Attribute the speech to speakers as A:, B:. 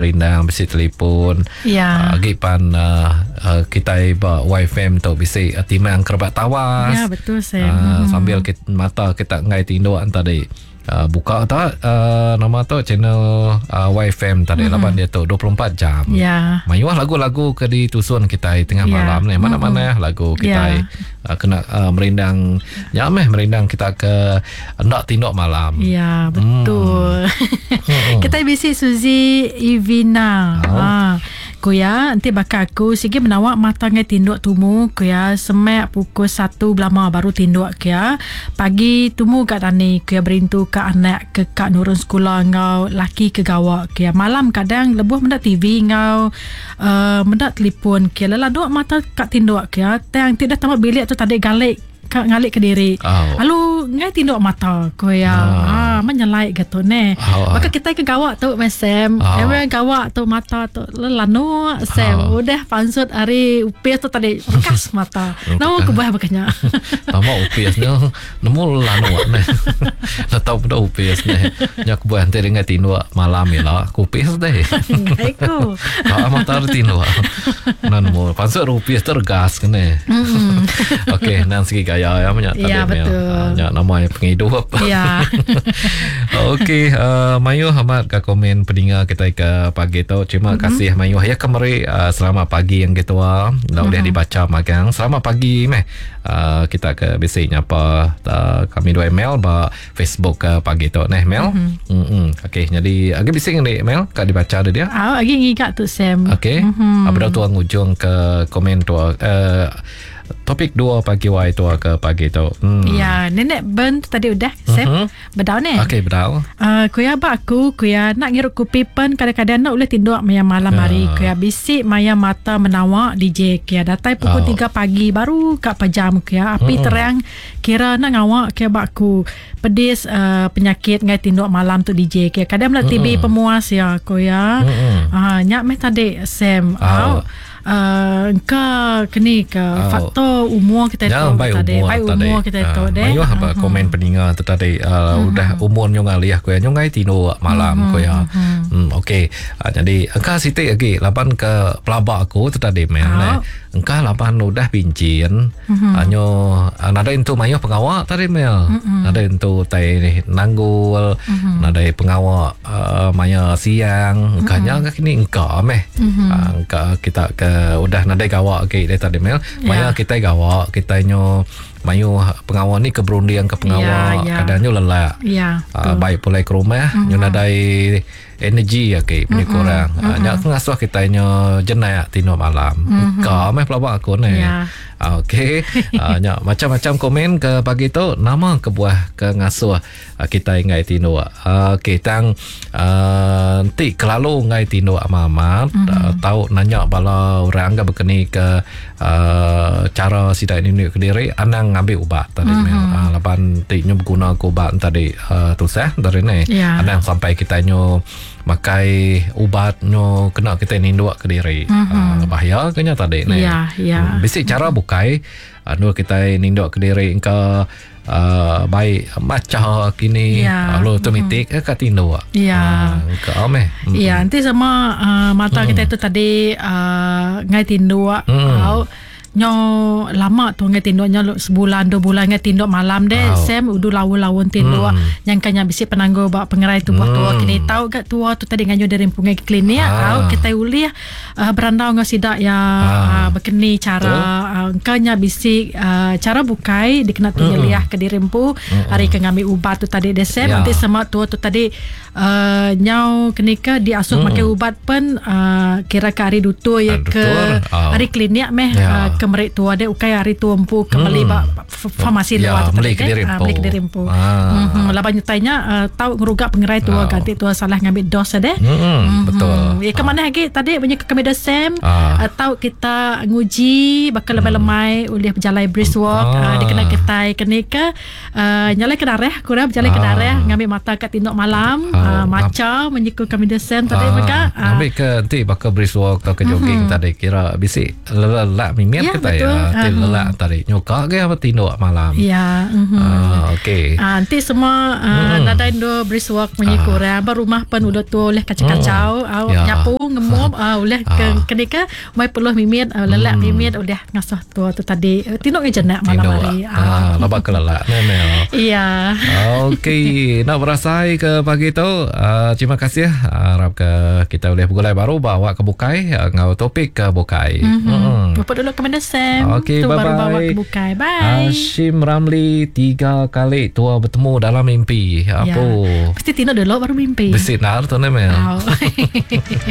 A: Rindang bisi telefon.
B: Ya.
A: Uh, agi pan uh, uh, kitai ba YFM tu bisi uh, timang kerebak tawas.
B: Ya, betul Sam.
A: Uh,
B: Hmm.
A: sambil kita, mata kita ngai tinduk tadi. Uh, buka tak uh, nama tu channel uh, YFM tadi laban dia tu 24 jam.
B: Ya.
A: Mayuh lagu-lagu ke ditusun kita tengah
B: Ya.
A: malam ni. Mana-mana lagu kita
B: Ya.
A: uh, kena uh, merindang ya meh merindang kita ke hendak tinduk malam.
B: Ya, betul.
A: Hmm.
B: Kita bisi Suzy Ivina.
A: Oh.
B: Ha. Kuya, nanti bakal aku sigi menawak mata ngai tinduk tumu kuya semak pukul 1 belama baru tinduk kuya. Pagi tumu kat tani kuya berintu ke anak ke kak nurun sekolah ngau laki ke gawak kuya. Malam kadang lebuh mendak TV ngau uh, mendak telefon kuya. Lelah duk mata kat tinduk kuya. Tang ti dah tamat bilik tu tadi galik kat ngalik ke diri.
A: Oh.
B: Lalu ngai tinduk mata kuya.
A: Ah.
B: Ah, menyelai gitu ne.
A: Oh.
B: Maka kita ke gawak tu Sam.
A: Oh.
B: Emang gawak tu mata tu lelanu Sam.
A: Oh.
B: Udah pansut hari upis tu tadi bekas mata. Nama aku buah bekanya.
A: Tama upis ni nemu lanu ni. Nak tahu pada upis ni. Nya aku buat nanti dengan tinduk malam ya lah. Aku upis deh.
B: Ngai ku.
A: Tak mata tinduk. Nan nemu pansut upis tergas kene. Okey, nan segi gaya ya banyak
B: Ya,
A: tadi ni.
B: betul.
A: Ah, Nya nama yang penghidup.
B: Ya.
A: Okey, uh, Mayuh amat ke komen pendengar kita ke pagi tu. Terima mm-hmm. kasih Mayuh. Ya kemari uh, selamat pagi yang ketua. Dah boleh dibaca magang. Selamat pagi meh. Uh, kita ke bisi nyapa uh, kami dua email ba Facebook ke pagi tu neh Mel. Mm-hmm. Mm-hmm. Okey, jadi agi bisi ngene email kat dibaca dia dia.
B: Ah, lagi ngigat tu Sam.
A: Okey. Mm-hmm. Apa dah tuang ujung ke komen tu uh, topik 2 pagi wai tu ke pagi tu. Hmm.
B: Ya, nenek Ben tu tadi udah Sam.
A: Mhm.
B: Bedau ne.
A: Okey, bedau.
B: Uh, kuya bak aku kuya nak ngirup kopi pen kadang-kadang nak boleh tinduk maya malam
A: Ya.
B: hari kuya bisik maya mata menawak DJ kuya datai pukul
A: Oh.
B: 3 pagi baru kat pejam kuya api
A: Mm-mm.
B: terang kira nak ngawak kuya bak aku pedis uh, penyakit ngai tinduk malam tu DJ kuya kadang nak TB pemuas ya kuya
A: Mm-mm.
B: ah nyak meh tadi Sam
A: Oh.
B: au Uh, engka kini ke
A: Oh.
B: faktor umur kita
A: Ya,
B: tu
A: baik
B: tadi
A: umur
B: baik
A: tadi.
B: umur kita tu
A: Ah,
B: deh
A: Mayuh apa komen pendengar tu tadi uh, udah umur nyong alih aku ya nyong ngai tinduk malam aku ya. Hmm okey. Uh, jadi engka siti lagi laban ke pelabak aku tu tadi men.
B: Ah.
A: Eh. Engka laban udah pincin. Uh, nyo uh, nadai entu mayuh pengawak tadi mel. Nadai entu tai ni nanggul, nadai pengawak uh, maya siang. Engka nya ke kini engka meh. Uh, engka kita ke udah nadai gawak ke dia tadi mel. Maya
B: Ya.
A: kita gawak kita nyo mayu pengawal ni ke berunding ke pengawal
B: Ya, ya.
A: kadang nyo lelak
B: ya
A: uh, baik pulai ke rumah mm-hmm. nyo nadai energi ya ke mm-hmm. kurang mm-hmm. uh, nya ngasuh kita nyo jenak tino malam mm-hmm. ka meh pelabak aku ni
B: Ya.
A: Ah, Okey, uh, nya macam-macam komen ke pagi tu nama kebuah ke ngasuh uh, kita ngai tinduk. Uh, Okey, tang uh, nanti kelalu ngai tinduk amat-amat mm-hmm. uh, tau nanya bala orang ke berkeni ke uh, cara sidak ini ke diri anang ngambil ubat tadi mm-hmm. uh, laban ti nyo berguna ke ubat tadi uh, tusah tadi ni.
B: Ya.
A: Anang sampai kita nyo makai ubat nyo kena kita ninduk ke diri. Mm-hmm. Uh, bahaya kena tadi ni.
B: Ya, ya.
A: Hmm, Bisi cara bukai anu kita ninduk ke diri engka uh, baik maca kini
B: Ya.
A: lalu automatik mm. kat tinduk.
B: Ya.
A: Ah, engka meh. Hmm.
B: Ya, nanti sama uh, mata kita itu tadi uh, ngai tinduk
A: Hmm.
B: au nyo lama tu ngai tinduk nyo sebulan dua bulan ngai tinduk malam deh
A: Au.
B: Sam udu laun-laun tinduk
A: Hmm.
B: yang kanya bisi penangguh bak pengerai tubuh tua kini tahu gak tua tu tadi nganyo dari pungai ke klinik
A: Ah.
B: au kita ulih uh, berandau ngau sidak ya
A: Ah.
B: uh, berkeni cara uh, engkanya bisi uh, cara bukai dikena tu nyeliah ke diri empu hari ke ngambil ubat tu tadi deh Sam
A: Ya.
B: nanti sama tua tu tadi uh, nyau kenika diasuh mm. makai ubat pen uh, kira ke hari dutur ya
A: Ah,
B: ke
A: dutur. Oh.
B: hari klinik meh
A: Ya.
B: uh, ke merik tua dia ukai hari tua empu ke beli
A: Hmm.
B: ba f- farmasi
A: Ya,
B: luar tu
A: beli
B: tadi
A: ke diri
B: deh. Ah,
A: empu.
B: beli ke diri empu.
A: Ah.
B: Mhm, laban nyutainya uh, tau ngerugak pengerai tua
A: Oh.
B: ganti tua salah ngambil dos deh.
A: Hmm, betul.
B: Ya ke mana lagi tadi punya ke kami Sam
A: Ah.
B: atau kita nguji bakal lemai-lemai oleh berjalan brisk walk
A: Ah.
B: ah. dia kena ketai kena ke uh, nyalai ke darah kurang berjalan ke
A: Ah.
B: darah ngambil mata kat tinduk malam
A: Ah.
B: uh, maca menyikul kami Sam tadi
A: Ah,
B: maka ah.
A: Ambil ke nanti bakal brisk walk atau ke jogging tadi kira bisi lelak mimit
B: Ya. Ya,
A: kita
B: betul.
A: ya. Ti
B: Ah.
A: lelak tadi. Nyuka ke apa tinduk malam.
B: Ya.
A: Ah, okey.
B: Ah, nanti semua nadai ndo brisk walk munyi
A: Ah.
B: kurang ba rumah pen udah tu oleh kacau-kacau mm.
A: Ya.
B: nyapu ngemop oleh ke
A: Ah.
B: kenika mai peluh mimit lelak mimit oleh ngasuh tua tu tadi tinduk ke jenak malam
A: Tinduk.
B: hari.
A: Ah, laba ke lelak ne Mel.
B: Iya.
A: Okey, nak berasai ke pagi tu. Terima kasih. Harap ke kita boleh bergulai baru bawa ke bukai ngau topik ke bukai. Mm-hmm.
B: Bapak dulu ke mana Sam?
A: Okey,
B: tu baru
A: bye-bye.
B: bawa ke bukai. Bye.
A: Hashim Ramli tiga kali tua bertemu dalam mimpi. Apa?
B: Ya. Mesti tinduk dulu baru mimpi.
A: Besinar tu ne Mel.
B: Oh.